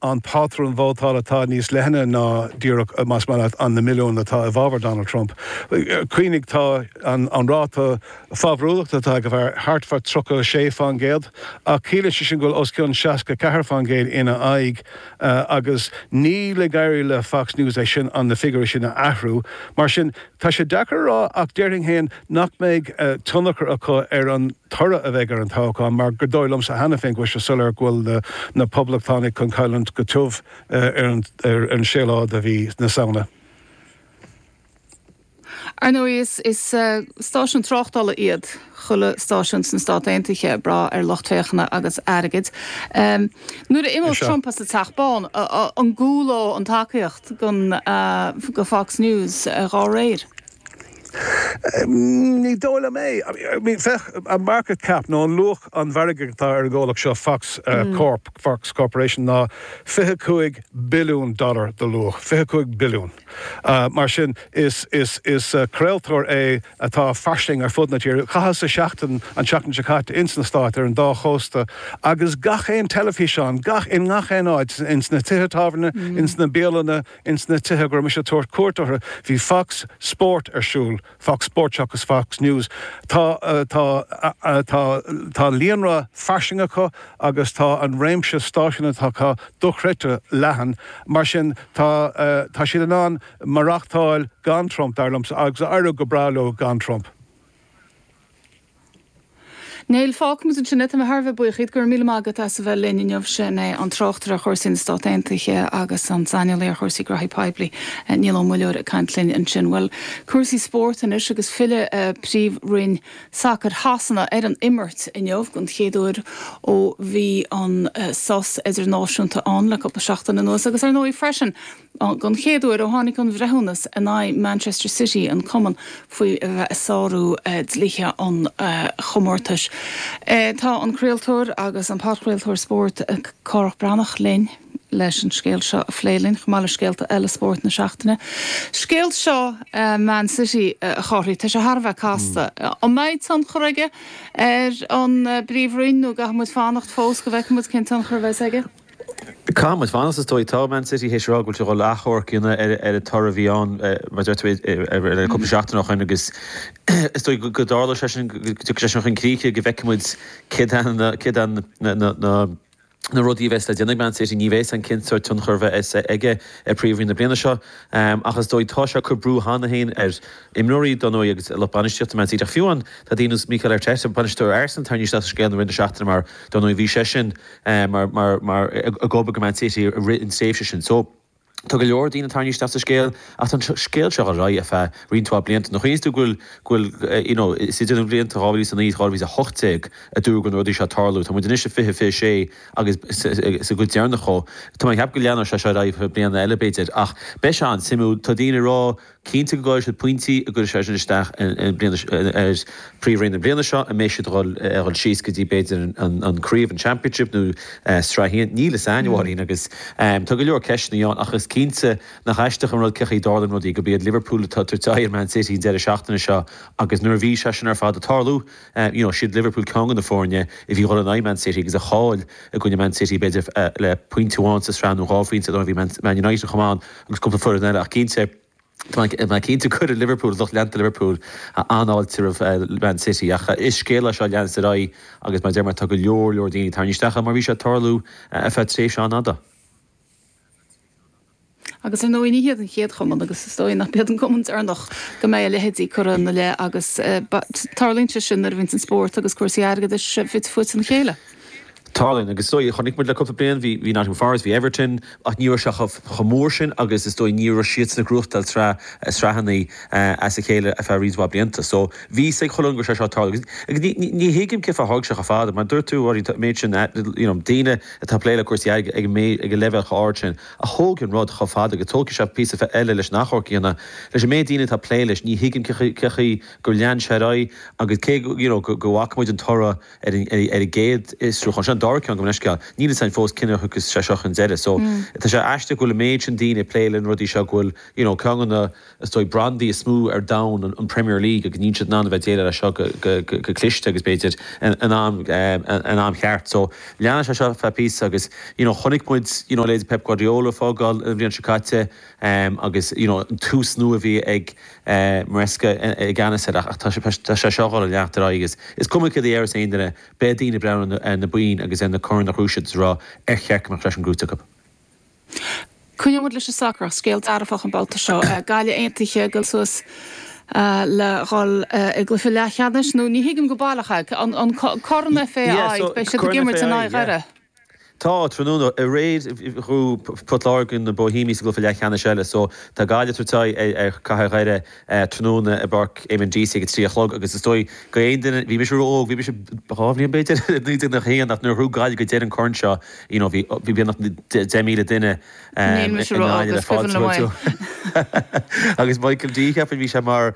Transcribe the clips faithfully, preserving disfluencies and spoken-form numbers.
An pátrún vótála atá níos leithne ná díreach, más maith leat, an na milliúin atá i bhfabhar Donald Trump. Cuimhnigh, tá an an ráta fabhrúlachta atá ag an bhfear thart fá tríocha a sé faoin gcéad, ach ciallaíonn sé sin go bhfuil os cionn seasca ceathair faoin gcéad ina aghaidh, agus níl ag éirí le Fox News é sin, an na figiúirí sin a athrú. Mar sin, tá sé deacair a rá, ach déarfainn féin nach mbeidh tionchar acu ar an toradh a bheidh ar an toghchán, mar gur dóigh liomsa cheana féin go bhfuil sé soiléir go bhfuil na Poblachtánaigh chun cailliúint go tiubh ar an séú lá de mhí na Samhna. Ar ndóigh, is stáisiún tráchtála iad chuile stáisiún sna Stáit Aontaithe, ag brath ar lucht féachana agus airgead. Nuair a imeoidh Trump as an Teach Bán, an gcúlóidh an tacaíocht do Fox News dá réir? Ní dóigh liom é. I mean, féach, an market cap nó an luach an mhargaidh atá ar an gcomhlacht seo, Fox Corp, Fox Corporation, ná fiche cúig billiún dollar de luach, fiche cúig billiún. Mar sin, is, is, is craoltóir é atá fairsing ar fud na tíre. Chaitheas seachtain, an tseachtain seo caite, ins na Stáit, ar an dá chósta, agus gach aon teilifíseán, gach, in ngach aon áit, ins na tithe tábhairne, ins na bialanna, ins na tithe go raibh mise ag tabhairt cuairt orthu, bhí Fox Sport ar siúl, Fox Sport seachas Fox News. Tá, tá, tá, tá líonra fairsing acu agus tá an réimse stáisiún atá acu dochreidte leathan. Mar sin, tá, tá siad in ann maireachtáil gan Trump, dar liomsa, agus éireoidh go breá leo gan Trump. Niall, fágfaimid ansin é. Tá mé thar a bheith buíoch díot. Go raibh míle maith agat as a bheith linn inniu. Sin é an tráchtaire ar chúrsaí na Stát Aontaithe agus an saineolaí ar chúrsaí graithí poiblí, Niall Ó Muilleoir ag caint linn ansin. Bhuel, cúrsaí spóirt anois agus filleadh Príomhroinn Sacair Shasana ar an imirt inniu den chéad uair ó bhí an sos idirnáisiúnta ann le cúpla seachtain anuas agus ar ndóigh freisin den chéad uair ó tháinig an bhreithiúnas in aghaidh Manchester City, an cumann, faoi a bheith ag sárú dlíthe an chomórtais. Tá an craoltóir agus an podchraoltóir spóirt Cárthach Breathnach linn leis an scéal seo a phlé linn, chomh maith le scéalta eile spóirt na seachtaine. Scéal seo Man City, a Chárthaigh, tá sé thar a bheith casta. An mbeidh tionchar aige ar an bPríomhroinn nó an gcaithfidh muid fanacht fós go bhfeicfidh muid cén tionchar a bheas aige? Caithfidh muid fanacht is dóigh. Tá Man City théis a rá go bhfuil siad ag dul achomharc a dhéanamh ar an toradh a bhí ann, mar a deir tú, le cúpla seachtain ó shin agus is dóigh go dtarlóidh sé sin, go dtiocfaidh sé sin chun críche, go bhfeicfidh muid céard é na na rudaí a bheas le déanamh ag Man City. Ní bheidh a fhios againn cén sórt tionchar a bheas aige ar Príomhroinn na bliana seo ach is dóigh tá sé ag cur brú cheana féin ar imreoirí, dar ndóigh, agus lucht bainistíochta Man City. Ach fiú amháin tá daoine ar nós Mikel Arteta, bainisteoir Arsenal, tarraingthe isteach sa scéal i rith na seachtaine mar, dar ndóigh, bhí seisean mar, mar, mar, ag obair do Man City i rith an tréimhse sin. So, tá go leor daoine tarraingthe isteach sa scéal ach tá an scéal seo ar aghaidh ar feadh roinnt mhaith blianta. Nuair a chuimhníos tú go bhfuil, go bhfuil, you know, is idir na blianta dhá mhíle is a naoi is dhá mhíle is a hocht déag a dúradh go raibh na rudaí seo ag tarlú. Tá muid anois i fiche fiche sé agus sa gcuid deireanach dhó. Tá mé ag ceapadh go leanfaidh sé seo ar aghaidh ar feadh bliana eile b'fhéidir ach beidh sé an-suimiúil. Tá daoine ag rá Cinnte go gcaillfidh siad pointí an gcuirfidh sé sin isteach ar Phríomhroinn na bliana seo, an mbeidh siad ag dul síos go dtí b'fhéidir an craobh, an Championship nó Sraith a haon, níl fhios a'inn a Mháirín agus tá go leor ceisteanna ann ach is cinnte nach aisteach an rud cén chaoi a dtarlaíonn rudaí, gurb iad Liverpool atá ag tabhairt aghaidh ar Man City an deireadh seachtaine seo agus nuair a bhí sé sin ar fad ag tarlú, you know, siad Liverpool ceann de na foirne a bhí ag dul in aghaidh Man City agus a chaill i gcoinne Man City b'fhéidir le pointe amháin sa sraith nó dhá phointe, bhí Man United chomh maith ann agus cúpla foireann eile ach cinnte. Tá mé cinnte go gcuirfidh Liverpool, lucht leanta Liverpool, an-fháilte roimh Man City ach is scéal é seo a leanas ar aghaidh agus mar a deir mé tá go leor leor daoine tarraingthe isteach ann mar bhí sé ag tarlú ar feadh tréimhse an-fhada. Agus ar ndóigh ní hiad an chéad chumann agus is dóigh nach iad an cumann deireanach go mbeidh a leithéidí curtha ina leith agus tarlaíonn sé sin nuair a bhíonns an spórt agus cúrsaí airgeadais fite fuaite ina chéile. Tarlaíonn, agus is dóigh, chonaic muid le cúpla bliain, bhí bhí Nottingham Forest, bhí Everton, ach ní raibh sé chomh chomh mór sin agus is dóigh ní raibh siadsan ag gnóthachtáil sraith sraitheanna as a chéile ar feadh roinnt mhaith blianta. So bhí fhios ag chuile dhuine go raibh sé seo ag tarlú agus agus ní ní ní thuigim cén fáth ar thóg sé chomh fada, mar dúirt tú, Mháirín, an méid sin you know daoine atá ag plé le cúrsaí airgid ag an méid ag an leibhéal chomh ard sin a thóg an rud chomh fada agus tógfaidh sé píosa eile leis an achomharc a dhéanamh leis an méid daoine atá ag plé leis, ní thuigim cén chaoi cén chaoi gur lean sé ar aghaidh agus cé go you know go go bhfaca muid an toradh ar an gcéad fhiosrúchán seo, an dara ceann, gabh mo leithscéal, níl fhios againn fós cén uair a thiocfas sé seo chun deireadh. So tá sé aisteach go bhfuil an méid sin daoine ag plé le na rudaí seo go bhfuil, you know, ceann de na, is dóigh, brandaí is mó ar domhan, an Premier League, agus níl siad in ann a bheith ag déileáil leis seo go, go, go, go cliste agus b'fhéidir in, in am, in am cheart. So leanfaidh sé seo feadh píosa agus, you know, chonaic muid, you know, leithéidí Pep Guardiola ag fágáil an bhliain seo caite agus, you know, an tús nua a bhí ag Maresca i gceannas air ach tá sé seo ag dul a leanacht ar aghaidh agus is cuma céard a déarfas aon duine, beidh daoine ag breathnú ar na boinn agus ar na coirn a ghnóthaigh siad is ag rá ar cheart go mbeadh sé sin gnóthaithe acu. Coinneoidh muid leis an sacar ach scéal dearfach an babhta seo. Gaillimh aontaithe dul suas le dhul i gcluiche leathcheannais nó ní thuigim go baileach é. An Corn FAI, beidh siad ag imirt in aghaidh Dhoire. Tá, tráthnóna. Aréir ghnóthaigh Port Láirge na Bohemians sa gcluiche leathcheannais eile so tá Gaillimh ag tabhairt aghaidh ar Chathair Dhoire tráthnóna i bPáirc Éamonn Deacy ag a trí a chlog agus is dóigh go aon duine, bhí mise ró-óg, bhí mise dhá bhliain b'fhéidir, i naoi déag nócha a haon ach nuair a ghnóthaigh Gaillimh go deireadh an corn seo you know bhí bhí beagnach deich míle duine Níl mise ró-óg, is cuimhin liom é. Agus Michael D cheapfainn bhí sé mar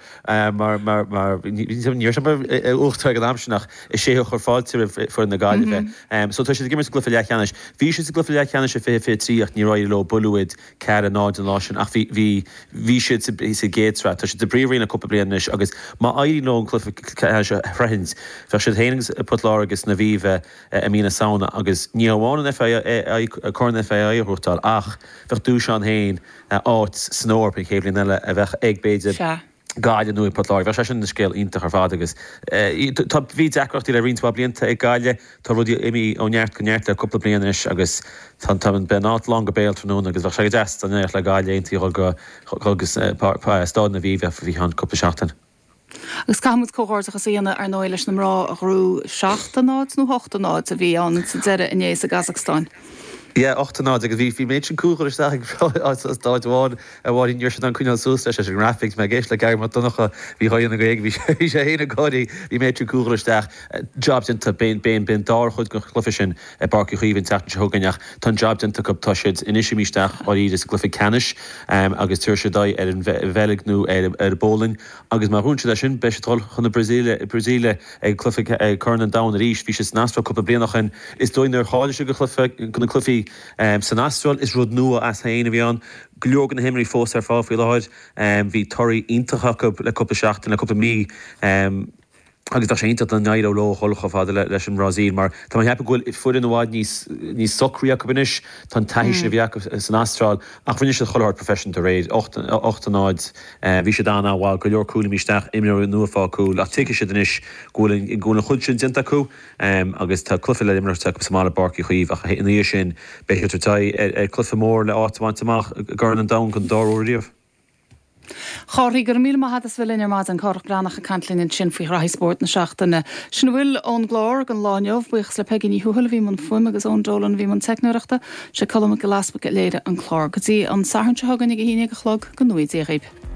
mar mar mar ní raibh sé mar uachtarán ag an am sin ach is é a chuir fáilte roimh foireann na Gaillimhe. So tá siad ag imirt sa gcluiche leathcheannais. Bhí siad sa gcluiche leathcheannais i fiche fiche trí ach níor éirigh leo, buaileadh iad ceathair a náid an lá sin ach bhí bhí bhí siad sa sa gcéad sraith. Tá siad sa bpríomhroinn le cúpla bliain anois agus má éiríonn leo an cluiche ceannais a shroichint bheadh siad féin agus Port Láirge san Aviva i mí na Samhna agus ní hamháin an FAI Corn FAI a ghnóthachtáil ach bheadh duais ann féin áit san Eoraip an chéad bhliain eile a bheadh ag b'fhéidir Sea. Gaillimh nó ag Port Láirge. Bheadh sé sin ina scéal iontach ar fad agus tá, bhí deacrachtaí le roinnt mhaith blianta ag Gaillimh, tá rudaí imithe ó neart go neart le cúpla bliain anois agus tá, tá, beidh an áit lán go béal tráthnóna agus bheadh sé go deas dá n-éireodh le Gaillimh aontaithe a dhul go, dhul go Staid an Aviva faoi cheann cúpla seachtain. Agus caithfidh muid comhghairdeachas a dhéanamh ar ndóigh leis na mná a ghnóthaigh seacht a náid nó hocht a náid a bhí ann sa deireadh inné sa gCasacstáin. Yeah, ocht a náid agus bhí bhí méid sin cúl curtha isteach ag staid amháin a mháirín ní raibh siad in ann coinneáil suas leis leis an ngrafaic. Mé ag éisteacht le Gary Mac Donncha bhí dhá dhéanamh Gaeilge bhí sé bhí sé féin ag gáirí bhí méid sin cúl curtha isteach. Job déanta b'in b'in b'in dara chuid den chluiche sin i bPáirc Uí Chaoimh an tseachtain seo chugainn ach tá an job déanta acu tá siad anois imithe isteach dáiríre sa gcluiche ceannais agus tabharfaidh siad aghaidh ar an Bheilg nó ar ar an bPólainn agus má ghnóthaíonn siad é sin beidh siad ag dul chun na Brasaíle Brasaíle ag cluiche ag Corn an Domhain arís. Bhí siad san Astráil cúpla bliain ó shin. Is dóigh nuair a cháiligh siad go cluiche go na cluichí san Astráil is rud nua as féin a bhí ann. Go leor de na himreoirí fós ar fáil faoi láthair. Bhí torthaí iontacha acu le cúpla seachtain, le cúpla mí. Agus bheadh sé iontach dá n-éireodh leo dhul chomh fada leis an mBrasaíl mar tá mé ag ceapadh go bhfuil foireann i bhfad níos níos socraí acu anois. Tá an taithí sin a bhí acu san Astráil ach rinne siad chuile shórt professional aréir, ocht ocht a náid, bhí siad an-an-mhaith, go leor cúil imithe isteach, imreoirí nua ag fáil cúil ach tuigfidh siad anois go bhfuil an go bhfuil an chuid sin déanta acu agus tá cluiche le imirt acu sa mbaile i bPáirc Uí Chaoimh ach ina dhiaidh sin beidh siad ag tabhairt aghaidh ar ar chluiche mór le áit a bhaint amach i gCorn an Domhain don dara huair riamh. Chárthaigh, go raibh míle maith agat as bheith linn ar maidin. Cárthach Breathnach ag caint linn ansin faoi ghraithí spóirt na seachtaine. Sin a bhfuil ón gclár don lá inniu. Buíochas le Peigí Ní Thuathail a bhí i mbun fuaime agus Eoin Dolan a bhí i mbun teicneoireachta. Sé Colm Mac Giolla Easpaig a léirigh an clár. Go dtí an Satharn seo chugainn ag a haon déag a chlog, go ngnóthaí Dia dhaoibh.